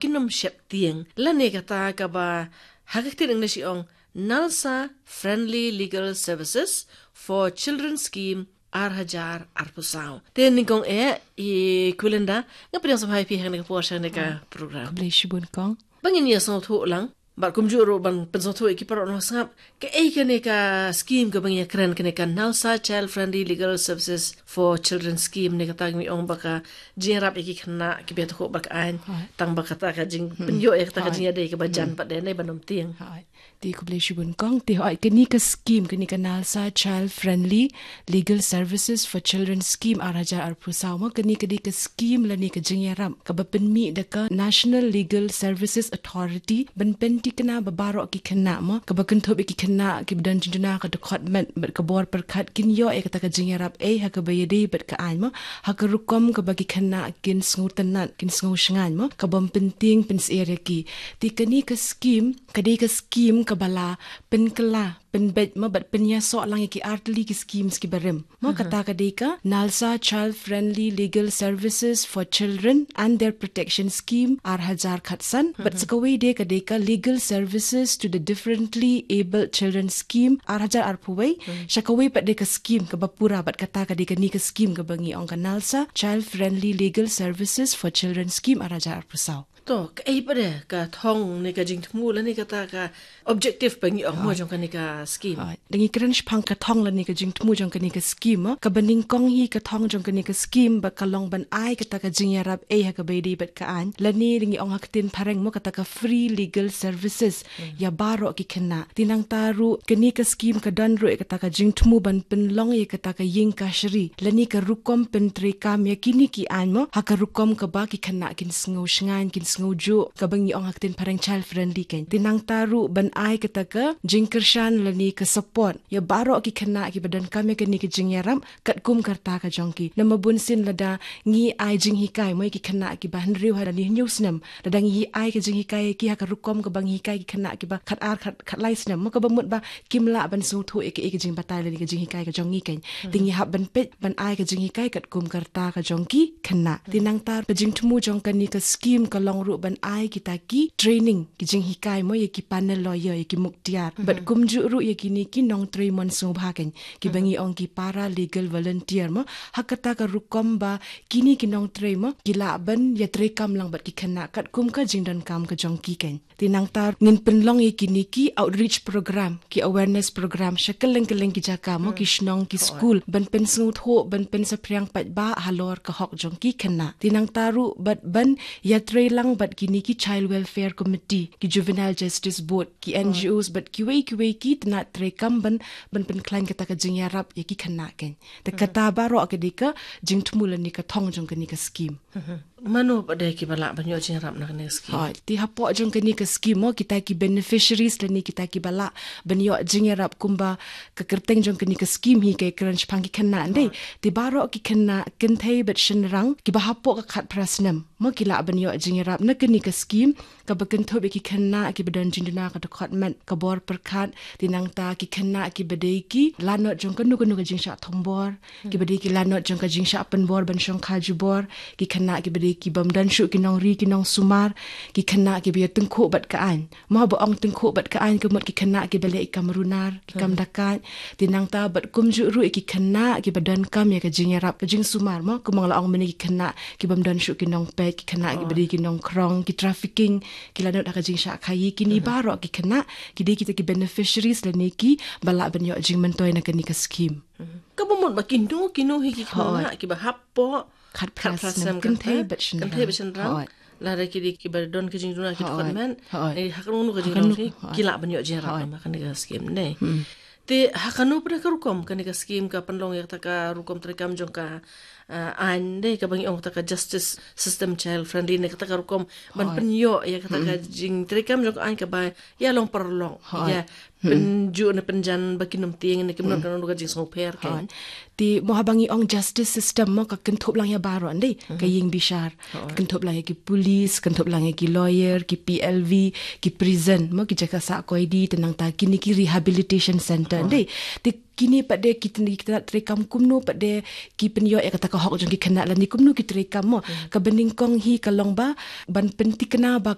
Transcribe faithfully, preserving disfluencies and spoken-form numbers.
kin ym sheptieng. Lane kata kaba ha ka ktien English i ong NALSA Friendly Legal Services for Children Scheme ar hajar arphew saw. Te nyngkong eh i Kulinda, nga pdiang sngewbha ïa phi ha kane ka por sha kane ka program. Khublei shibun kong. Ba ngin ïa sngewthuh lang, bad kumjuh ruh ban pynsngewthuh ïa ki paralok nongsngap, kaei kane ka scheme kaba ngi ïa kren, kane ka NALSA Child Friendly Legal Services for Children Scheme, ne kata ngi ong ba ka jingïarap ïa ki khynnah kiba ïathuh bad ka aiñ. Hooid. Tang ba kata ka jingpynïoh ïa kata ka jingïadei kaba jan pat de ne ban ym tieng. Hooid. Te khublei shibun kong, te hooid, kane ka scheme, kane ka NALSA Child Friendly Legal Services for Children Scheme ar hajar arphew saw mo, kane ka dei ka scheme lane ka jingïarap kaba pynmih da ka National Legal Services Authority ban pynthikna ba baroh ki khynnah mo, kaba kynthup ïa ki khynnah kiba don jingduna ka dkhot met bad ka bor pyrkhat, kin ïoh ïa kata ka jingïarap ei ha kaba ïadei bad ka aiñ mo, ha ka rukom kaba ki khynnah kin sngewtynnat, kin sngewshngaiñ mo, kaba ym pyntieng pynsyier ïa ki. Te kane ka scheme ka dei ka scheme kaba la pynkylla, pynbeit mo bad pynïasoh lang ïa ki artylli ki schemes kiba rim mo. Kata ka dei ka NALSA Child Friendly Legal Services for Children and Their Protection Scheme ar hajar khatsan. Bad sa kawei de ka dei ka Legal Services to the Differently Abled Children Scheme ar hajar arphew wei. Sha kawei pat de ka scheme kaba pura bad kata ka dei kane ka scheme kaba ngi ong ka NALSA Child Friendly Legal Services for Children Scheme ar hajar arphew saw. To, kaei pat de ka thong ne ka jingthmu lane kata ka objective ba ngi ong mo jong kane ka scheme? Hooid. Da ngi kren shaphang ka thong lane ka jingthmu jong kane ka scheme mo, kaba nyngkong hi ka thong jong kane ka scheme ba ka long ban ai kata ka jingïarap ei ha kaba ïadei bad ka aiñ, lane da ngi ong ha ka ktien phareng mo kata ka free legal services ïa baroh ki khynnah. Te nangta ruh kane ka scheme ka don ruh ïa kata ka jingthmu ban pynlong ïa kata ka ïing kashari lane ka rukom pyntreikam ïa kine ki aiñ mo, ha ka rukom kaba ki khynnah kin sngewshngaiñ, kin sngewjuh, kaba ngi ong ha ka ktien phareng child friendly keiñ. Te nangta ruh ban ai kata ka jingkyrshan lane ka support ïa baroh ki khynnah kiba donkam ïa kane ka jingïarap katkum ka rta ka jong ki. Namar bunsien lada ngi ai jinghikai mo ïa ki khynnah kiba hynriew haduh hynñiew snem, lada ngi ai ka jinghikai ïa ki ha ka rukom kaba ngi hikai ki khynnah kiba khatar, khat, khatlai snem mo, kaba mut ba kim lah ban sngewthuh ïa ka, ïa ka jingbatai lane ka jinghikai ka jong ngi keiñ. Te ngi hap ban peit ban ai ka jinghikai katkum ka rta ka jong ki khynnah. Te nangta ka jingthmu jong kane ka scheme ka long ruh ban ai kita ki training, ki jinghikai mo ïa ki panel lawyer, ïa ki muktiar. Bad kumjuh ruh ïa kine ki nongtrei mon sngewbha keiñ, kiba ngi ong ki para legal volunteer mo, ha kata ka rukom ba kine ki nongtrei mo ki lah ban ïatreikam lang bad ki khynnah katkum ka jingdonkam ka jong ki keiñ. Te nangta ngin pynlong ïa kine ki outreach program, ki awareness program sha kylleng kylleng ki jaka mo, ki shnong, ki skul, ban pynsngewthuh, ban pynsaphriang paidbah halor ka hok jong ki khynnah. Te nangta ruh bad ban ïatrei lang bad kine ki Child Welfare Committee, ki Juvenile Justice Board, ki N G Os bad kiwei kiwei ki tnat treikam ban, ban pynkhlaiñ kata ka jingïarap ïa ki khynnah keiñ. Te kata baroh ka dei ka jingthmu lane ka thong jong kane ka scheme. Mano pat de kiba lah ban ïoh jingïarap na kane ka scheme? Hooid, te hapoh jong kane ka scheme mo, kita ki beneficiaries lane kita kiba lah ban ïoh jingïarap kumba ka kyrteng jong kane ka scheme hi ka kren shaphang ki khynnah, ym dei? Te baroh ki khynnah kynthei bad shynrang kiba hapoh ka khatphra snem mo ki lah ban ïoh jingïarap na kane ka scheme, kaba kynthup ïa ki khynnah kiba don jingduna ka dkhot met, ka bor pyrkhat, te nangta ki khynnah kiba dei ki lanot jong kano kano ka jingshah thombor, kiba dei ki lanot jong ka jingshah pynbor ban shongkha jubor, ki khynnah kiba dei ki bym don shuh ki nongri ki nongsumar, ki khynnah kiba ïa tyngkhuh bad ka aiñ. Mo, haba ong tyngkhuh bad ka aiñ ka mut ki khynnah kiba leh ïa ka kam runar, ki kam dakaid. Te nangta bad kumjuh ruh ïa ki khynnah kiba donkam ïa ka jingïarap ka jingsumar mo, kumba nga la ong mynne, ki khynnah ki bym don shuh ki nongpeit, ki khynnah kiba dei ki nongkhrong, ki trafficking, ki lanot ha ka jingshah khaïi, kine baroh ki khynnah ki dei kita ki beneficiaries lane kiba lah ban ïoh jingmyntoi na kane ka scheme. Kaba mut ba kino kino hi ki khynnah kiba hapoh khatphra snem, kynthei bad shynrang. Lada ki dei kiba don ka jingduna ki dkhot met, eh, ha kano kano ka jingduna ki lah ban ïoh jingïarap na kane ka scheme ne. Te ha kano pat de ka rukom kane ka scheme ka pynlong ïa kata ka rukom treikam jong ka, eh, aiñ ne, kaba ngi ong kata ka justice system child friendly ne, kata ka rukom ban pynïoh ïa kata ka jingtreikam jong ka aiñ kaba ïa long paralok, ïa pynjuh ne pynjan ba kin ym tieng ne, kim don kano kano ka jingsngewpher keiñ. Te mo, haba ngi ong justice system mo, ka kynthup lang ïa baroh, ym dei? Ka ïing bishar, ka kynthup lang ïa ki police, kynthup lang ïa ki lawyer, ki P L V, ki prison mo, ki jaka sah koidi, te nangta kine ki rehabilitation center, ym dei? Te kine pat de ki tnat treikam kumno pat de ki pynïoh ïa kata ka hok jong ki khynnah lane kumno ki treikam mo. Ka banyngkong hi ka long ba ban pyntikna ba